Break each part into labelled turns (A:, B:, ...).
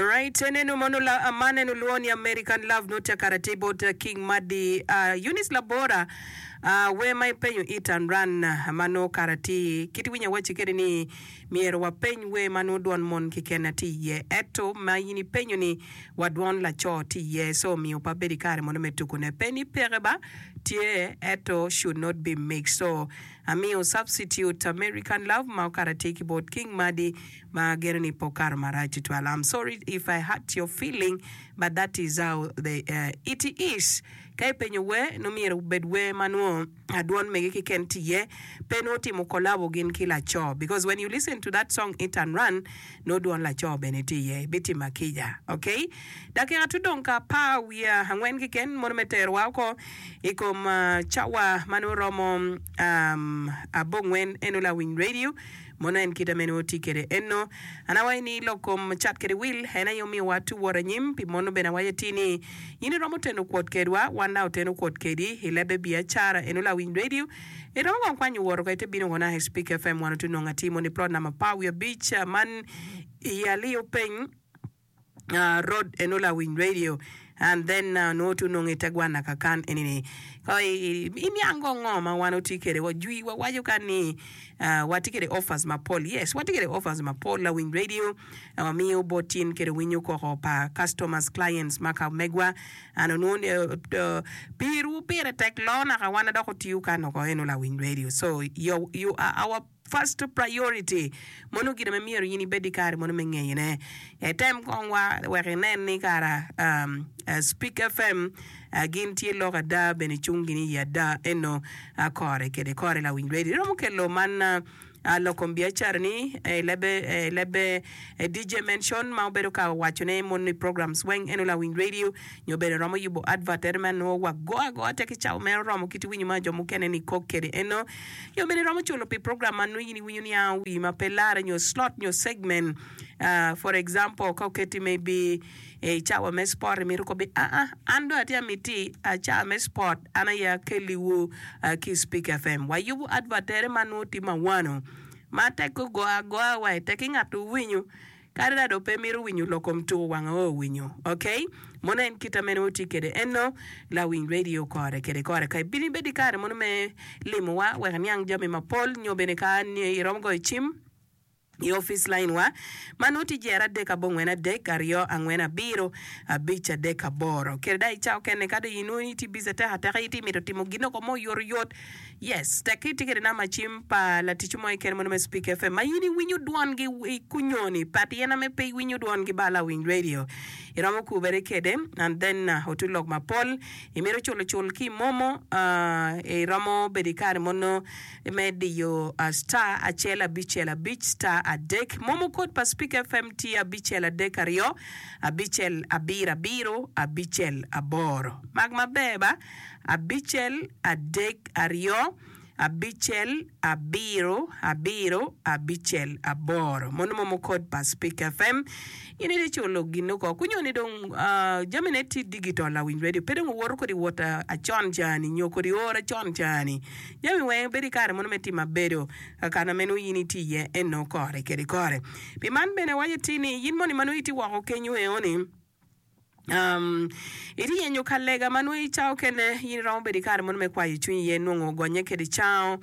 A: Alright, enenu mono la man en olwongo ni American Love nongo tye kare atir bot King Madi uh, Eunice Labora uh, wer ma ipenyo Eat and Run uh, ma nongo kare atir kit iwinyo awacci kede ni myero wapeny wer ma nongo dwon mon keken tye iye ento ma in ipenyo ni wa dwon laco tye iye so omiyo pe abedo ikare mono me tuku ne pe ni peke ba tye ento should not be mixed so amiyo substitute American Love ma okato atir ki bot King Madi ma ageno ni pe okato marac tutwal I'm sorry if I hurt your feeling but that is how the it is ka ipenyo wer nongo myero obed wer ma nongo adwon mege keken tye iye pe nongo otimo collabo gin ki laco because when you listen to that song hit and run nongo dwon laco bene tye iye ibitima kica ok dakika tudong ka apar wiye angwen keken mono me terowa oko i kom cawa ma nongo romo abongwen eno lawiny radio Mono en kite mene oti kede eno? An awaco ni lok kom cat kede wil en aye omiyo wa tu wot anyim, pi mono bene awaco atir ni in iromo teno kwot kedwa, wan dok oteno kwot kedi i lebbe biacara eno lawiny radio iromo kong kwanyo wot oko ite bino kona i Speak FM wan otu nongo atir mono i plot namba apar wiye abic man i aliyo peny. Road eno lawiny radio and then nongo tu nongo ite gwana kakan eni ni ko iniang go ngo ma wan otye kede wa jwi wa waco kan ni watye kede offers mapol yes watye kede offers mapol lawiny radio wamiyo bot tin kede winyo koko pa customers clients ma ka megwa and onongo ni pirwu pire tek loo naka wan adok otiyo kan oko eno lawiny radio so you are our First priority, Mono gin ma myero in ibed ki kare mono me ngeyone. Item kong wa wek inen ni kara Speak FM gin tye lok ada bene cung gin i ada eno kore kede kore lawiny radio. Iromo kelo man lok kom biacara ni i lebbe lebbe DJ Mention ma obedo ka waco ne mono i programs weng eno lawiny radio nyo bene romo yubo advert ene ma nongo wa go agoa tek i cawa mere oromo kit winyo ma jo mukene ni kok kede eno. Nyo bene iromo culo pi program ma nongo in iwinyo ni a wi ma pe larre nyo slot nyo segment. For example, ka oketi maybe i cawa me sport imito kobi aa an dong atye amiti cawa me sport an aye akelliwu ki i Speak FM. Wayubo advert tere ma nongo tye mawano ma tek ogo agoa wa i tek ki ngat owinyo. Kadi dong pe mito winyo lok kom tuko wanga o winyo ok mono en kita mene wutye kede eno lawiny radio kore kede kore ka ibino ibed ikare mono me limo wa wek iniang jami mapol nyo bene ka iromo goyo cim i office line wa ma nongo tye jer adek abongwen adek aryo angwen abiro abic adek aboro kede dong ica okene ka dong inongo ni itye busy atek ateka itye mito timo ginoko mo oyotoyot Yes, tekki itye kede namba cim pa laticwu mo keken mono me Speak FM ma in iwinyo dwongi i kunyoni but in ame pe iwinyo dwongi ba lawiny radio iromo kubere kede and then otu lok mapol imito culo cul ki momo iromo bedo ikare mono me diyo star acel abicel abic star adek momo kod pa Speak FM tye abicel adek aryo abicel abiro abiro abicel aboro mak maber ba. Abicel, adek, aryo, abicel, abiro, abiro, abicel, aboro. Mono momo kod pa Speak FM. In ite culo gin oko. Kunyo ni dong jami ne tye digital lawiny radio. Pe dong owoto kodi wot acon cani nyo kodi or acon cani. Jami weng bedo ikare mono me timo abedo kakana meno in itye iye eno kore kede kore. Pi man bene awaco atir ni in moni ma nongo itye woko kenyo eoni, Itye yenyo ka lega ma nongo i cawa okene in iromo bedo i kare mono me kwayo cwinyi iye nongo ogonye kede cango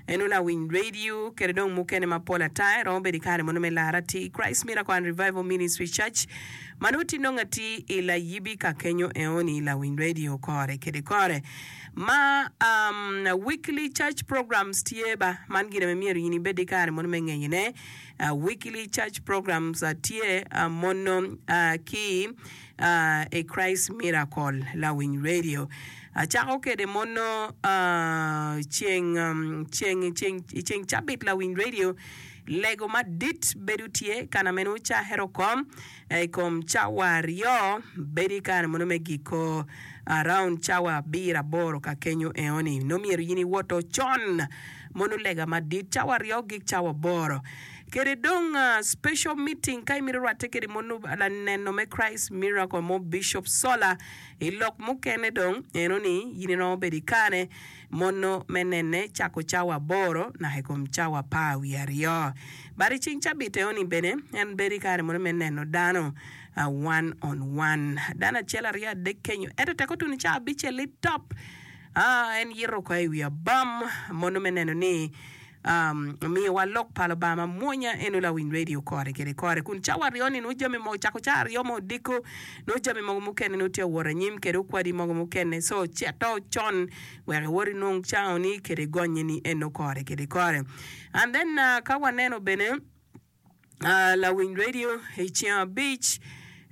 A: en nongo lawiny radio kede dong mukene mapol ata iromo bedo i kare mono me lar atir Christ Miracle and Revival Ministry Church ma nongo tye nongo atir i layibi ka kenyo eoni lawiny radio kore kede kore ma weekly church programs tye ba man gin ma myero in ibed i kare mono me ngeyone. Weekly church programs tye mono ki i Christ Miracle Lawiny Radio. Acako kede mono ceng ceng ceng ceng cabit Lawiny Radio lego madit bedo tye kana meno cahero kom i kom cawa aryo bedo i kare mono me giko around cawa abiro aboro ka kenyo eoni nongo myero in iwoto con mono lega madit cawa aryo gik cawa aboro. Kede dong special meeting ka imito rwatte kede mono laneno me Christ Miracle mo Bishop Sola i lok mukene dong eno ni yin iromo bedo ikane mono me nene cako cawa aboro naka ikom cawa 12. But i ceng cabit eno ni bene en bedo ikare mono me neno dano one on one dano acel aryo adek kenyo ento tek otuno cawa abicel li top en yito oko i wi abam mono me neno ni Omiyowa lok pa Lubanga mamwonya eno lawiny radio kore kede kore kun cawa aryo-ni nongo jami mogo cako cawa aryo me odiko nongo jami mogo mukene nongo tye awot anyim kede okwadi mogo mukene so cito con wek iwot inong cawoni kede gonye-ni eno kore kede kore and then ka waneno bene Lawiny radio i ceng abic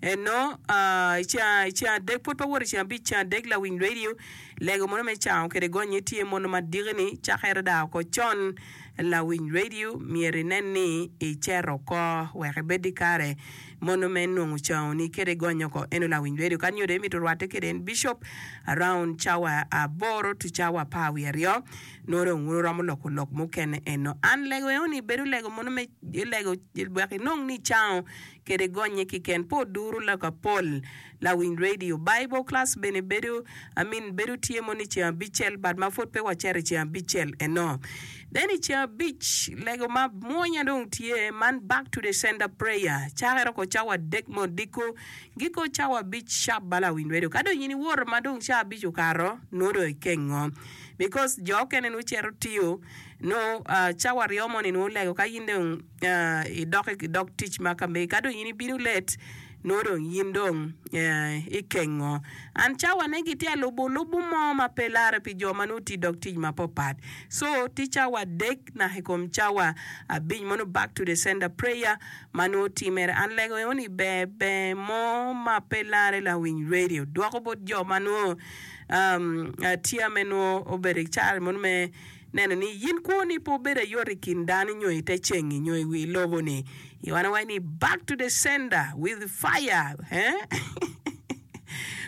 A: eno i ceng adek pwod pe woto i ceng abic ceng adek lawiny radio lego mono me cango kede gonye tye mono madiki ni cakere daa oko con lawiny radio myero inen ni iceto oko wek ibed ki kare mono me nongo cango ni kede gonyo oko eno lawiny radio ka nyo dong imito rwate kede en bishop around cawa aboro to cawa 12. Nongo dong wun wuromo loko lok mukene eno. An lego eno ni bedo lego mono me lego wek inong ni icango kede gonye kiken pe oduru lok apol lawiny radio. Bible class bene bedo I mean bedo tye mono i ceng abicel but ma pwod pe waceto i ceng abicel eno. Then i ceng abic lego ma mwonya dong tye man back to the sender prayer cakere oko cawa adek me odiko giko cawa abic sharp ba lawiny radio. Ka dong in iwoto ma dong cawa abic okato nongo dong ikengo. Because jo okene nongo cito tiyo nongo cawa aryo moni nongo olego ka in dong idok i dog tic ma ka megi ka dong in ibino late nongo dong in dong ikengo and cawa ne gitye alubo lubo mo ma pe lare pi jo ma nongo tye i dog tic mapapat so tye cawa adek naka i kom cawa abic mono back to the sender prayer ma nongo timere and lego eno ni ber ber mo ma pe lare lawiny radio dwoko bot jo ma nongo Tia me nwo obedo i care mono me neno ni yin kwo ni pe obedo ayot i kin dano nyo i te cengi nyo i wi lobo ni. Yoana waco ni back to the sender with fire eh?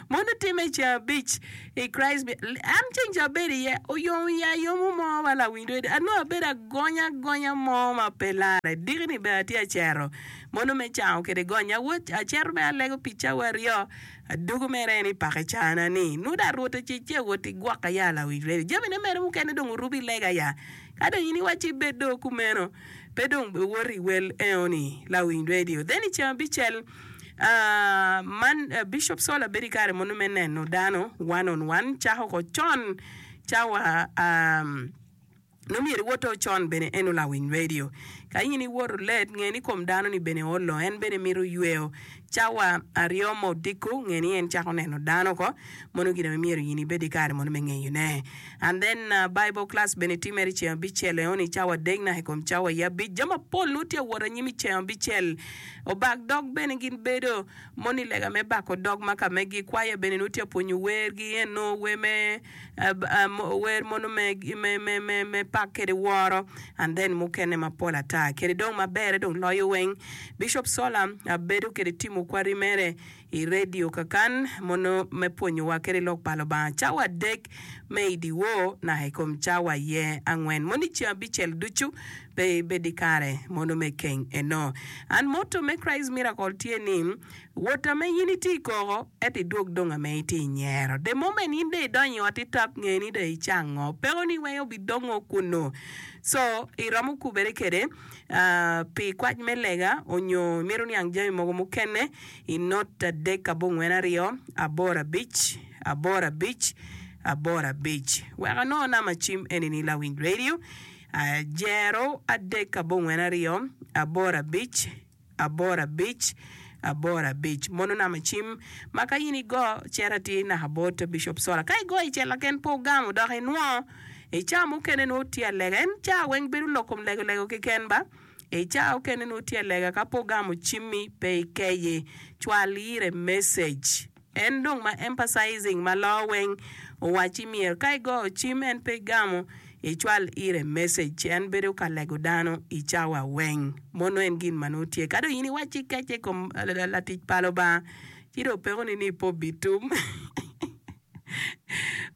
A: Mono time i ceng abic i Christ be an ceng ca abedo iye oyomo iya ayomo mo ma lawiny rwed anongo abedo agonya agonya mo ma pe lare diki ni bene atye acero mono me cango kede gonya awot acero me alego pi cawa aryo Aduku mere en i pake cana ni, Nuda Rwot ocicce wot igwoka ya lawic redio. Jamine mere mukene dong orubo i lega ya. Ka dong in iwacci ibed do kumeno, pe dong iwot i wel eoni lawiny redio. Then i ceng abicel, man Bishop Sola bedo i kare mono me neno dano one on one cako ko con cawa Nongo myero iwot o con bene eno lawiny radio. Ka in iwoto let, nge ni kom dano ni bene olo, en bene mito yweyo. Cawa aryo ma odiko, nge ni en cako neno dano oko. Mono gin ame myero in ibed ki kare mono me ngeyo ne. And then Bible class bene timere i ceng abicel eno ni cawa adek naka i kom cawa i abic. Jami mapol nongo tye awot anyim i ceng abicel. Obak dog bene gin bedo mono i lega me bako dog ma ka megi. Kwaya bene nongo tye apwonyo wer gi eno wer me wer mono me pak kede woro and then mukene mapol ata kede dong maberre dong loyo weng Bishop Sola bedo kede timo kwari mere i radio kakan mono me pwonyowa kede lok pa Lubanga cawa adek me i dyewor naka i kom cawa aye angwen mono i ceng abicel ducu pe ibed i kare mono me keng eno and motto me Christ Miracle tye ni Wot ame in itye i koko, ento idwog dong ame itye i nyero. The moment in dong idonyo i ot itap, nge ni dong icango. Pekoni weng obidongo kunnu. So, iromo kubere kwede pi kwac me lega onyo imito niang jami mogo mukene i not 3 abongwen 2 8 5 8 5 8 5. Wek anongo namba cim eni-ni lawiny radio, jero 3 abongwen 2 8 5 aboro abic, aboro abic. Mono namba cim ma ka in igo cito atir naka bot Bishop Sola. Ka igo i cel laken pe ogamo dok inwo i caa mukene nongo tye alega. En caa weng bedo lok kom lego lego keken ba. I caa okene nongo tye alega ka pe ogamo cimmi pe ikeyi. Cwal ire message. En dong ma emphasizing ma loo weng owacci myero ka igoyo cim en pe igamo icwal ire message en bedo ka lego dano i cawa weng mono en gin ma nongo tye ka dong in iwacci ikece i kom latic pa Lubanga ci dong peko ni ni pe obitum.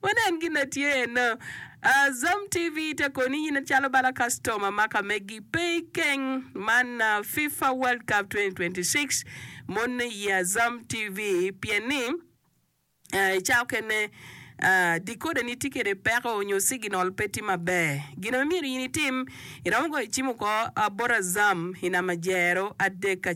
A: Wanen gin na tye eno. Azam TV te koni in calo bala kastoma ma ka megi pe ikeng man FIFA World Cup 2026 mon i Azam TV pien ni i cawa okene decoder ni tye kede peko nyo signal pe tye maber. Gin ma myero in itim iromo goyo cim oko bot Azam i namba jero adek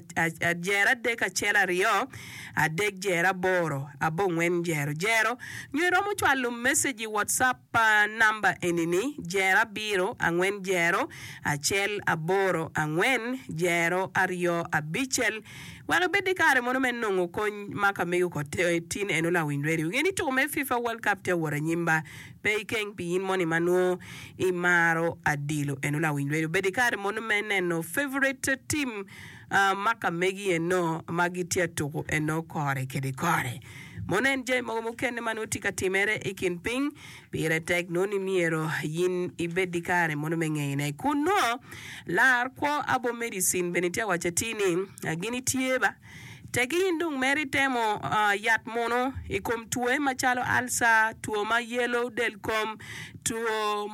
A: jero adek acel aryo adek jero aboro abongwen jero jero nyo iromo cwalo message i WhatsApp pa namba eni ni jero abiro angwen jero acel aboro angwen jero aryo abicel wek ibed ki kare mono me nongo kony ma ka mego kor tin eno lawiny radio nge ni tuko me FIFA World Cup tye awot anyim ba pe ikeng pi in moni ma nongo imaro adilo eno lawiny radio bed ki kare mono me neno favorite team ma ka megi eno ma gitye atuku eno kore kede kore. Mono en jami mogo mukene ma nongo tye ka timere i kin piny, pire tek nongo ni myero in ibed ki kare mono me ngeyone. Kun nongo lar kwo abo medicine bene tye awaco atir ni gin itye ba. Teki in dong mere itemo yat muno i kom twoye macalo alca, two ma yelo del kom, two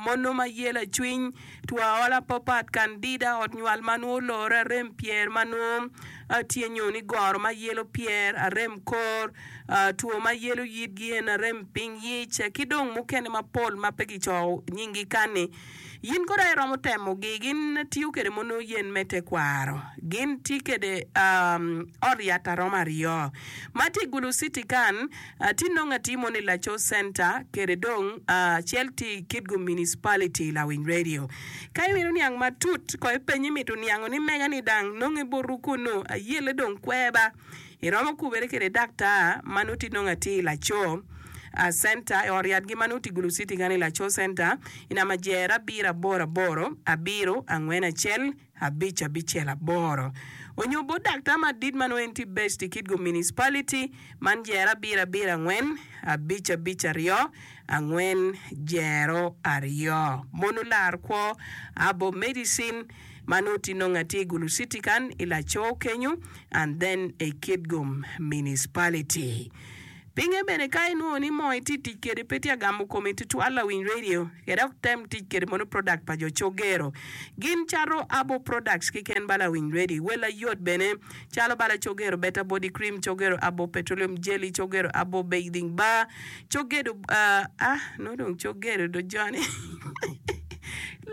A: mono ma yelo acwiny, Two aola papat, kandida, ot nywal ma nwo olore, arem pyer ma nwo tye nyo ni goro ma yelo pyer, arem kor, two ma yelo yitgi en arem piny yic, ki dong mukene mapol ma pe kicoyo nyinggi kani. Yin kono aye iromo temogi. Gin tiyo kwede mono yen me tekwaro. Gin tye kwede ot yat aromo aryo ma tye i Gulu City kan. Tye nongo atir mono i Laco Center kede dong acel tye i Kitgum Municipality Lawiny Radio. Ka imito niang matut ko ipeny imito niango ni mega ni dang nonge botu kunu ayele dong kwer ba. Iromo kubere kede daktar ma nongo tye nongo atir i Laco Center i ot yat gi ma nongo tye i Gulu City kany i Laco Center i namba jer abiro aboro aboro abiro angwen acel abic abicel aboro onyo bot daktar madit ma nongo en tye based i Kitgum Municipality man jero abiro abiro angwen abic abic aryo angwen jero aryo mono lar kwo abo medicine ma nongo tye nongo atye i Gulu City kan i Lacor kenyo and then i Kitgum Municipality. Pinge bene ka inwongo ni moo itye tic kede pe tye agamo komi tutwal lawiny radio ke dok tem tic kede mono product pa jo cogero gin cato abo products keken ba lawiny radio wel ayot bene calo bala cogero better body cream cogero abo petroleum jelly cogero abo bathing bar cogedo ah nongo dong cogero do joni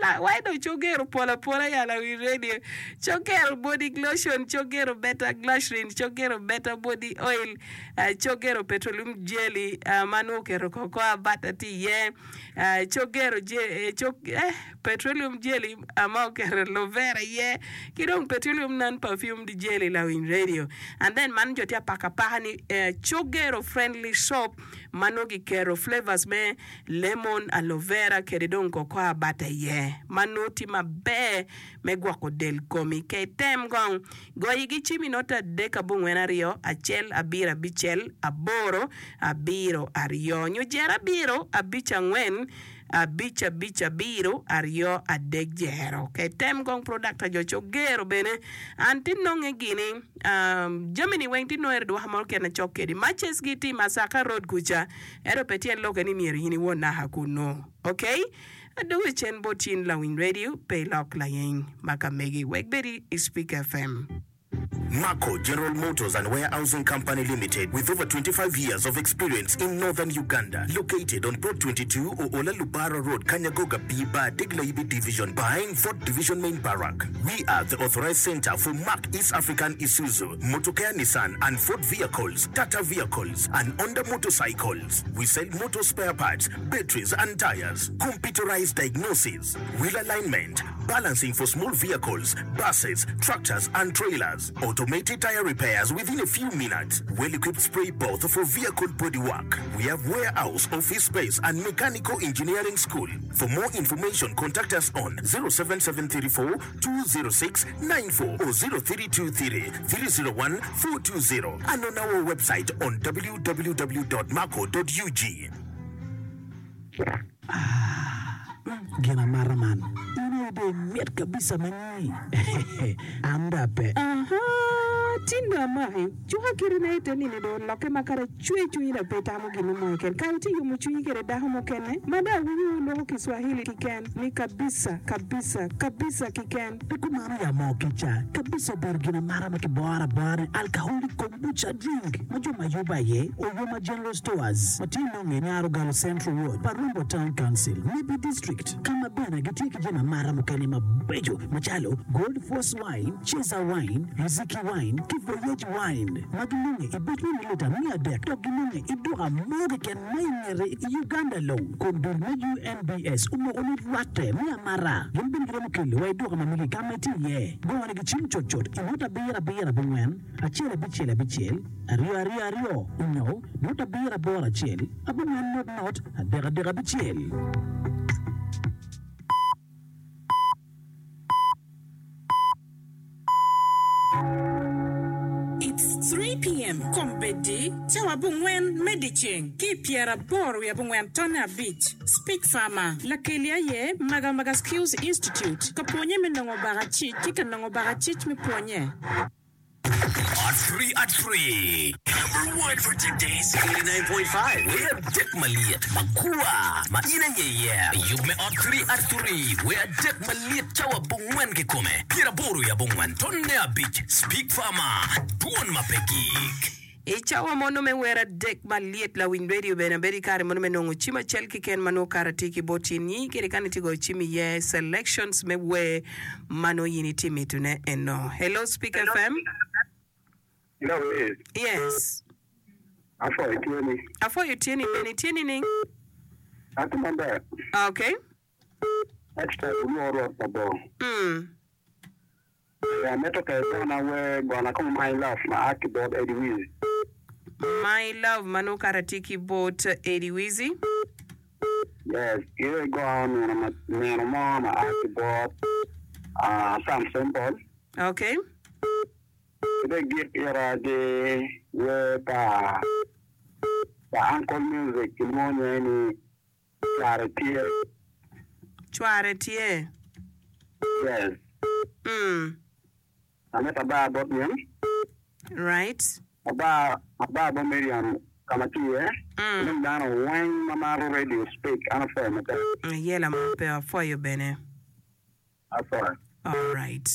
A: la wai dong cogero pol apola ya lawiny radio cogero body lotion cogero better glycerin cogero better body oil Cogero petroleum jelly ma nongo oketo cocoa butter tye iye, cogero petroleum jelly ma oketo aloe vera iye, ki dong petroleum non perfumed jelly lawiny radio. And then man jo tye apaka apaka ni cogero friendly soap ma nongo kiketo flavors me lemon, aloe vera kede dong cocoa butter iye ma nongo tye maber me gwoko del komi. Ka item kong Goyi gi cim i nota adek abongwen aryo acel abiro abicel aboro abiro aryo nyo jero abiro abic angwen abic abic abiro aryo adek jero. Ka item kong product pa jo cogero bene an ti nonge gini jami ni weng ti nonge dwaka mo keken acok kedi matches gi ti Masaka road kuca ento pe tyen loke ni myero in iwot naka kunu ok. Adwogo i cen bot in lawiny radio, pe ilok layeng ma ka megi wek bed i Speak FM.
B: Mako General Motors and Warehousing Company Limited with over 25 years of experience in Northern Uganda located on Plot 22 Oola Lubara Road Kanyagoga B Bar Degla-Ibi Division behind Fort Division Main Barrack. We are the authorized center for Mack East African Isuzu, Motokaa Nissan and Ford vehicles, Tata vehicles and Honda motorcycles. We sell motor spare parts, batteries and tires, computerized diagnosis, wheel alignment, balancing for small vehicles, buses, tractors and trailers, automated tire repairs within a few minutes, well-equipped spray booth for vehicle body work. We have warehouse, office space and mechanical engineering school. For more information contact us on 07734 206 94 or 0323 301 420 and on our website on www.maco.ug.
C: Gin amata man in aye dong imit kabisa ma nyi. An dong ape.
A: Aha! tin dong amaki, cuka kiti na ite nini dong olokke ma kadi acwe cwinyi dong pe itamo gin mo keken. Kare tye yomo cwinyi kede dako mukene ma dong awinyo wuloko Kiswahili kiken ni kabisa, kabisa, kabisa kiken.
C: Pe kumano ya moo kica, kabisa obedo gin amata ma kiboro abora ni alcoholic kombucha drink ma jo ma yubo aye Oyoma General Stores ma tye nonge i Nyarogalo Central Ward pa Rombo Town Council, Nebbi District. Ka ma bene gitye ki jami amata mukene mabeco macalo Gold Force Wine, Cesar Wine, Riziki Wine ki Voyage Wine ma ginonge i buc me mililita 300 dok ginonge i duka mo keken ma i ngete i Uganda long. Kun dul me UNBS omoko ni rwatte me amata gin bene giromo kelo wa i duka ma megi ka ma itye iye. Gonigi cim cutcut i nota abiro abiro abongwen acel abicel abicel aryo aryo aryo onyo nota abiro aboro acel abongwen not not adek adek abicel.
D: It's 3 PM, Kombeddi, cawa abongwen me dyeceng ki i pyeraboro wiye abongwen tonne abic. Speak Farmer, Lakeli aye Magamaga Skills Institute, ka pwonye me nongo bakacic ki ka nongo bakacic me pwonye.
E: At three at three. Number one for today's 89.5 Wer adek malyet magwar ma in aye iye. Yub me ot three at three Wer adek malyet cawa abongwen kikome pyeraboro i abongwen tonne abic Speak Farmer Dwon ma pe gik.
A: I cawa mono me wer adek malyet, lawiny redio bene bedo i kare mono me nongo cim acel keken ma nongo kare tye ki bot in nyi kede kany itye goyo cim iye selections me wer ma nongo in itye mito ne eno. Hello Speak FM.
F: Hello Liz.
A: Yes.
F: Apwoyo tye ni.
A: Apwoyo tye ni bene itye nining?
F: Atye maber.
A: Okay.
F: Extra olwor rwot mabor.
A: Mm.
F: Amito ka igona wer gona kong my love ma a ki bot Eddie Wizzy.
A: My love ma nongo kara tye ki bot Eddie Wizzy.
F: Yes, iro igo nino ma nino mo ma a ki bot ah, Sam Simple.
A: Okay.
F: Ki dong igik ira ki wer pa pa Uncle Music kilwongo nyinge ni Cware tye.
A: Cware tye.
F: Yes.
A: Mm.
F: Amito abar bot min.
A: Right.
F: Abar, abar bot Miriam ka ma tye iye.
A: Mm.
F: Dong dano weng ma maro radio speak an apwoyo matek.
A: Ayela mo pe apwoyo bene.
F: Apwoyo.
A: Alright.